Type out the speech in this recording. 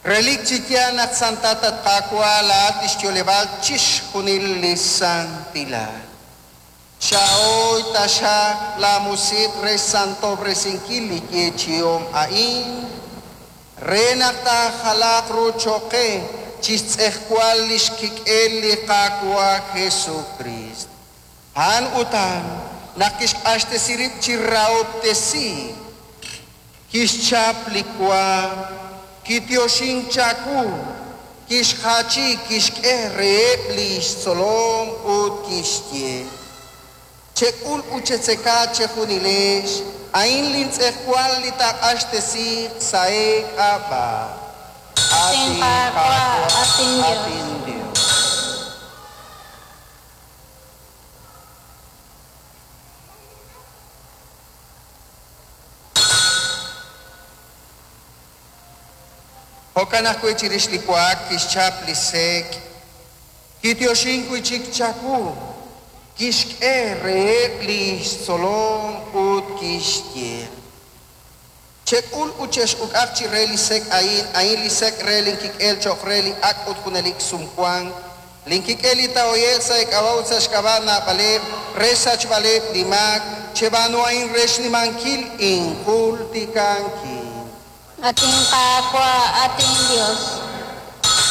Relik chi yaal naq santat, at Qaawa', laa'at li xyo'leb'aal chixjunil li santilal. Chahoy taxaq laamusiq' re xsantob'resinkil li yeechi'om a'in, re naq taajalaaq ru cho'q qe chi xtz'ejwal li xkik'el li Qaawa' Jesukriist. A'an utan naq kixq'axtesi rib' chi rahob'tesiik, kixchap li wa, kityoxink chawu, kixjachi, kixk'e reheb' li xtzolom ut kixye: Chek'ul ut chetzeka chejunilex, a'in lintz'ejwal li taaq'axtesiiq sa' eek'ab'a'. Atin Qaawa', atin Dios. Atin Dios. Jo'kan ajwi' chirix li wa'ak kixchap li sek', kityoxink wi' chik chawu, kixk'e reheb' li xtzolom ut kixye: Chek'ul ut chex'uk'aq chi re li sek' a'in, a'in li sek' re linkik'el cho'q re li ak' ut junelik sumwank, linkik'el li taahoye'q sa' eek'ab'a' ut sa' xk'ab'a' naab'aleb' re xsachb'aleb' li maak. Cheb'aanu a'in re xnimankil injultikankil. Atin Qaawa', atin Dios.